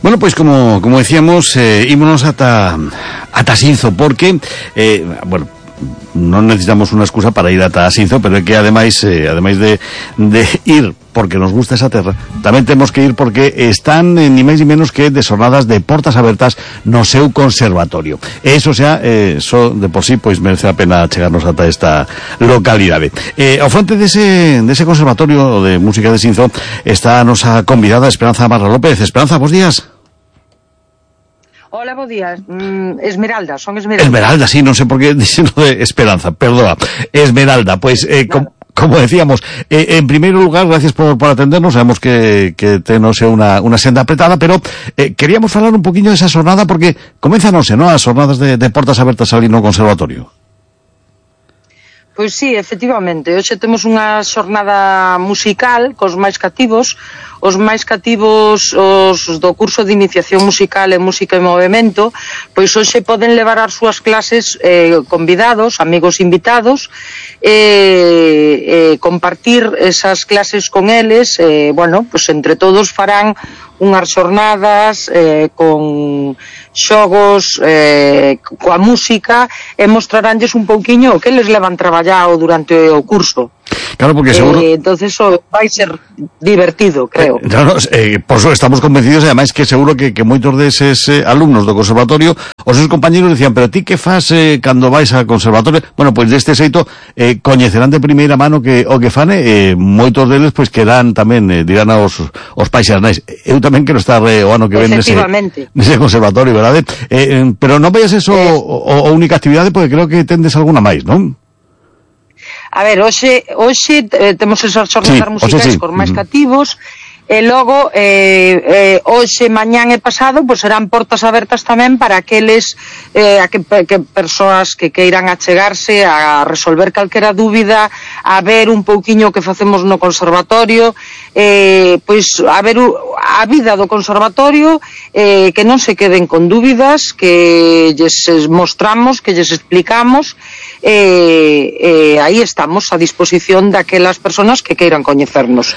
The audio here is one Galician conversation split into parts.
Bueno, pois como decíamos, ímonos ata Sinzo, porque, bueno, non necesitamos unha excusa para ir ata Sinzo, pero é que ademais de ir porque nos gusta esa terra, tamén temos que ir porque están ni máis ni menos que de xornadas de portas abertas no seu conservatorio. E iso xa, so de por sí, pois merece a pena chegarnos ata esta localidade. Ao fronte dese conservatorio de música de Sinzo está a nosa convidada Esperanza Marra López. Esperanza, bons días. Hola, bo días. Esmeralda, son Esmeralda. Esmeralda, sí, non sei por que dixeno de Esperanza, perdoa. Esmeralda, pois, como decíamos, en primeiro lugar, gracias por atendernos, sabemos que tenos unha senda apretada, pero queríamos falar un poquinho desa xornada, porque coménzanos, non, as xornadas de portas abertas ali no conservatorio. Pois sí, efectivamente, hoxe temos unha xornada musical cos máis cativos. Os máis cativos, os do curso de iniciación musical e música e movimento, pois hoxe poden levar as súas clases convidados, amigos invitados, compartir esas clases con eles, bueno, pois entre todos farán unhas xornadas con xogos, coa música, e mostraránlles un pouquiño o que les levan traballado durante o curso. Claro, porque seguro... entonces vai ser divertido, creo. Claro, por eso estamos convencidos, e ademais que seguro que moitos deses alumnos do conservatorio, os seus compañeros decían, pero ti que fas cando vais ao conservatorio? Bueno, pois deste xeito coñecerán de primeira mano o que fan, moitos deles pois quedan tamén, dirán aos pais e as nais, eu tamén quero estar o ano que ven nese conservatorio, verdade? Pero non vayas eso a única actividade, porque creo que tendes alguna máis, non? A ver, hoxe temos esas xornadas musicais cos máis cativos, e logo hoxe, mañán e pasado pois serán portas abertas tamén para aqueles que persoas que queiran achegarse a resolver calquera dúbida, a ver un pouquiño o que facemos no conservatorio, pois a ver a vida do conservatorio, que non se queden con dúbidas, que lles mostramos, que lles explicamos, aí estamos a disposición daquelas persoas que queiran coñecernos.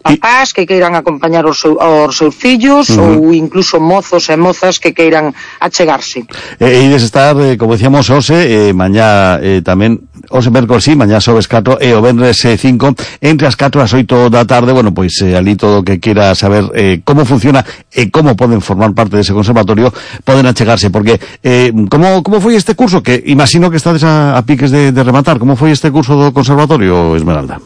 Papás que queiran acompañar os seus fillos, ou incluso mozos e mozas que queiran achegarse. E ides estar, como decíamos, hoxe, mañá tamén, hoxe mércoles sí, mañá xoves 4 e o venres 5, entre as 4 e as 8 da tarde. Bueno, pois ali todo o que queira saber como funciona e como poden formar parte dese conservatorio, poden achegarse, porque como foi este curso, que imagino que estades a piques de rematar, como foi este curso do conservatorio, Esmeralda?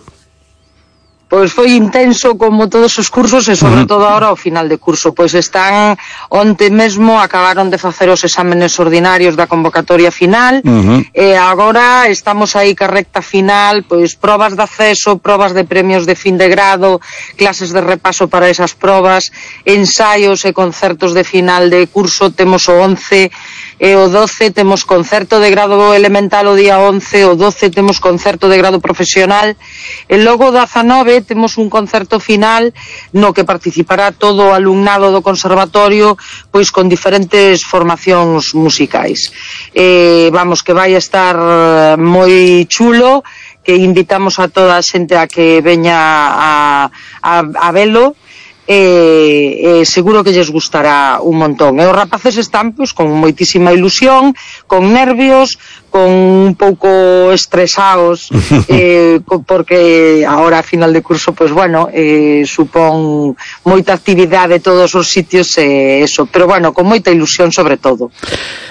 Pois foi intenso como todos os cursos, e sobre todo ahora ao final de curso, pois están onte mesmo, acabaron de facer os exámenes ordinarios da convocatoria final, e agora estamos aí ca recta final, pois probas de acceso, probas de premios de fin de grado, clases de repaso para esas probas, ensaios e concertos de final de curso. Temos o 11 e o 12 temos concerto de grado elemental o día 11, o 12 temos concerto de grado profesional, e logo o 19 temos un concerto final no que participará todo o alumnado do conservatorio, pois con diferentes formacións musicais. Vamos, que vai estar moi chulo, que invitamos a toda a xente a que veña a velo, seguro que lles gustará un montón. E os rapaces están pois con moitísima ilusión, con nervios, con un pouco estresados, porque agora a final de curso, pois bueno, supón moita actividade todos os sitios, eso, pero bueno, con moita ilusión sobre todo.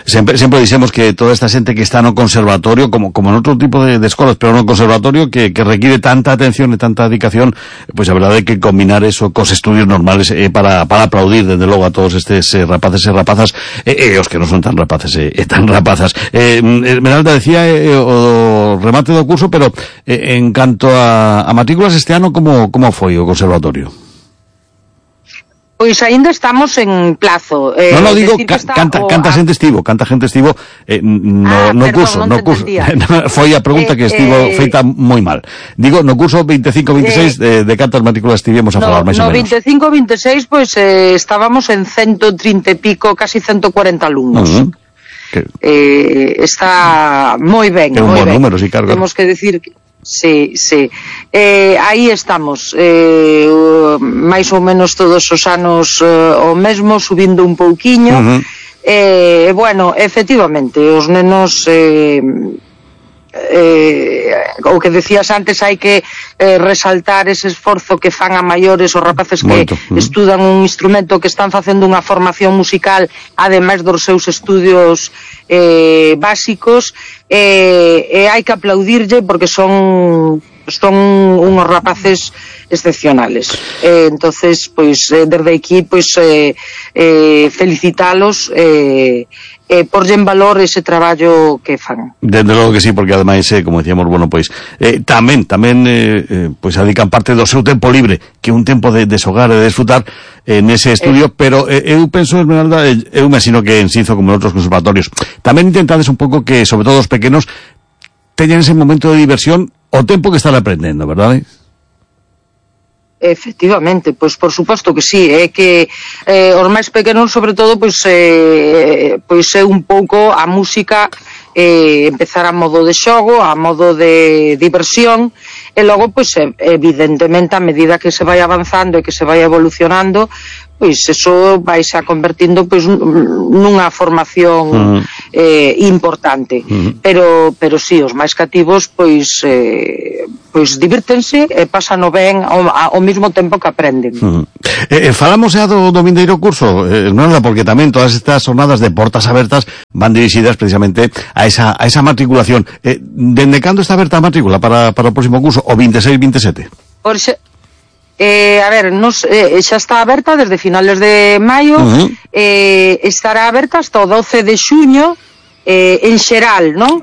Sempre dixemos que toda esta xente que está no conservatorio, como en outro tipo de escolas, pero no conservatorio, que requiere tanta atención e tanta dedicación, pois a verdade é que combinar eso cos estudios normales para aplaudir, desde logo, a todos estes rapaces e rapazas, e os que non son tan rapaces e tan rapazas. Esmeralda decía o remate do curso, pero en canto a matrículas este ano, como foi o conservatorio? Pois aínda estamos en plazo. Non digo, canta xente estivo no curso. Foi a pregunta que estivo feita moi mal. Digo, no curso 25-26 de cantas matrículas estivemos a falar, máis ou menos. No 25-26, pois estábamos en 130 e pico, casi 140 alumnos. Que... está moi ben, moi ben. Número, sí, claro. Temos que decir Sí. Aí estamos, máis ou menos todos os anos o mesmo, subindo un pouquiño. Bueno, efectivamente, os nenos, o que decías antes, hai que resaltar ese esforzo que fan a maiores os rapaces que estudan un instrumento, que están facendo unha formación musical ademais dos seus estudios básicos, e hai que aplaudirlle porque son unos rapaces excepcionales. Entonces, pois, desde aquí, pois, felicitalos, porlle en valor ese traballo que fan. Desde logo que sí, porque ademais, como decíamos, bueno, pois, tamén, pois, adican parte do seu tempo libre, que é un tempo de desogar e de desfrutar nese estudio, pero eu penso, Esmeralda, eu imagino que en Xinzo, como en outros conservatorios, tamén intentades un pouco que, sobre todo os pequenos, teñan ese momento de diversión o tempo que están aprendendo, verdade? Efectivamente, pois por suposto que sí, é que os máis pequenos, sobre todo, pois é un pouco a música, empezar a modo de xogo, a modo de diversión, e logo, pois, evidentemente, a medida que se vai avanzando e que se vai evolucionando, pois eso vai se convertindo, pois, nunha formación importante. Pero sí, os máis cativos, pois divírtense e pasano ben ao mesmo tempo que aprenden. Falamos xa do vindeiro curso, Esmeralda, porque tamén todas estas jornadas de portas abertas van dirixidas precisamente a esa matriculación. Dende cando está aberta a matrícula para o próximo curso, o 26-27? A ver, xa está aberta desde finales de maio, estará aberta hasta o 12 de xuño, en xeral, non?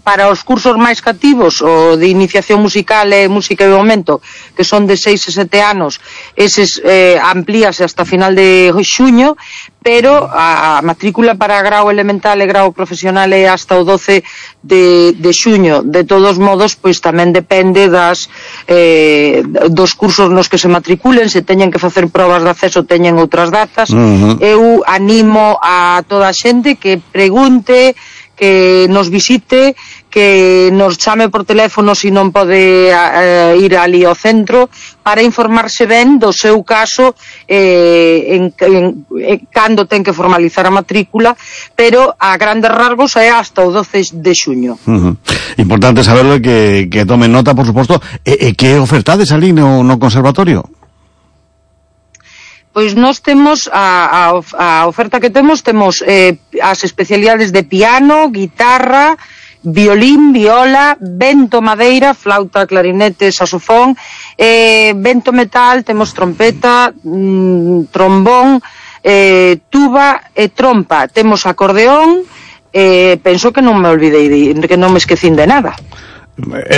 Para os cursos máis cativos, o de iniciación musical e música de momento, que son de 6 e 7 anos, eses amplíase hasta final de xuño, pero a matrícula para grau elemental e grau profesional é hasta o 12 de xuño. De todos modos, pois tamén depende dos cursos nos que se matriculen, se teñen que facer probas de acceso, teñen outras datas. Eu animo a toda a xente que pregunte, que nos visite, que nos chame por teléfono se non pode ir ali ao centro, para informarse ben do seu caso, cando ten que formalizar a matrícula, pero a grandes rasgos é hasta o 12 de xuño. Importante saberlo, que tomen nota, por suposto. Que ofertades ali no conservatorio? Pois nós temos a oferta que temos as especialidades de piano, guitarra, violín, viola, vento madeira, flauta, clarinete, saxofón, vento metal, temos trompeta, trombón, tuba e trompa, temos acordeón, penso que non me olvidei, que non me esquecín de nada.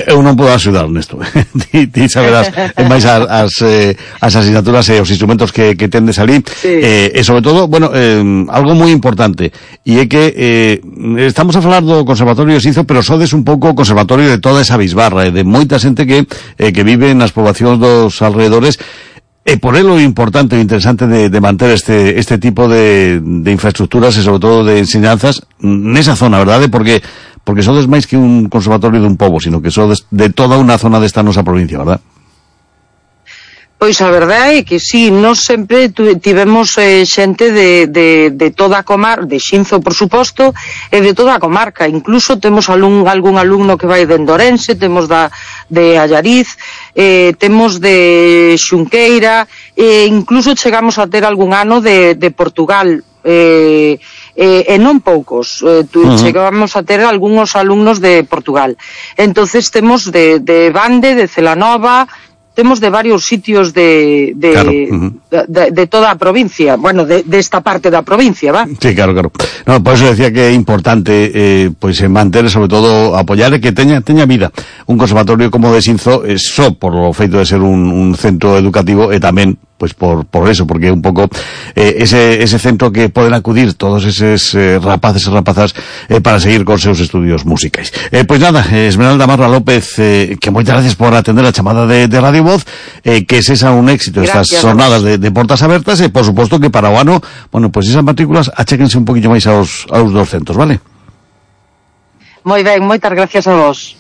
Eu non podo axudar nesto. Ti saberás máis as asignaturas e os instrumentos que tendes ali, e sobre todo, bueno, algo moi importante, e é que estamos a falar do Conservatorio de Xinzo, pero sodes un pouco o conservatorio de toda esa bisbarra, e de moita xente que vive nas poboacións dos alrededores. E porelo importante e interesante de manter este tipo de infraestructuras e sobre todo de enseñanzas nesa zona, verdade? Porque sodes máis que un conservatorio dun pobo, sino que sodes de toda unha zona desta nosa provincia, verdad? Pois a verdade é que sí, nós sempre tivemos xente de toda a comarca, de Xinzo, por suposto, e de toda a comarca. Incluso temos algún alumno que vai de Ourense, temos de Allariz, temos de Xunqueira, e incluso chegamos a ter algún ano de Portugal, e non poucos, chegamos a ter algúns alumnos de Portugal. Entonces temos de Bande, de Celanova, temos de varios sitios de toda a provincia, bueno, de esta parte da provincia, va? Sí, claro. No, por eso decía que é importante pois manter, sobre todo, apoiar e que teña vida. Un conservatorio como o de Xinzo, só por o feito de ser un centro educativo, e tamén pois por eso, porque un pouco ese centro que poden acudir todos eses rapaces e rapazas para seguir con seus estudios musicais. Pois nada, Esmeralda Marra López, que moitas gracias por atender a chamada de Radio Voz, que sexa un éxito estas jornadas de portas abertas, e por suposto que para o ano, bueno, pois esas matrículas achéquense un poquinho máis aos dos centros, vale? Moi ben, moitas gracias a vos.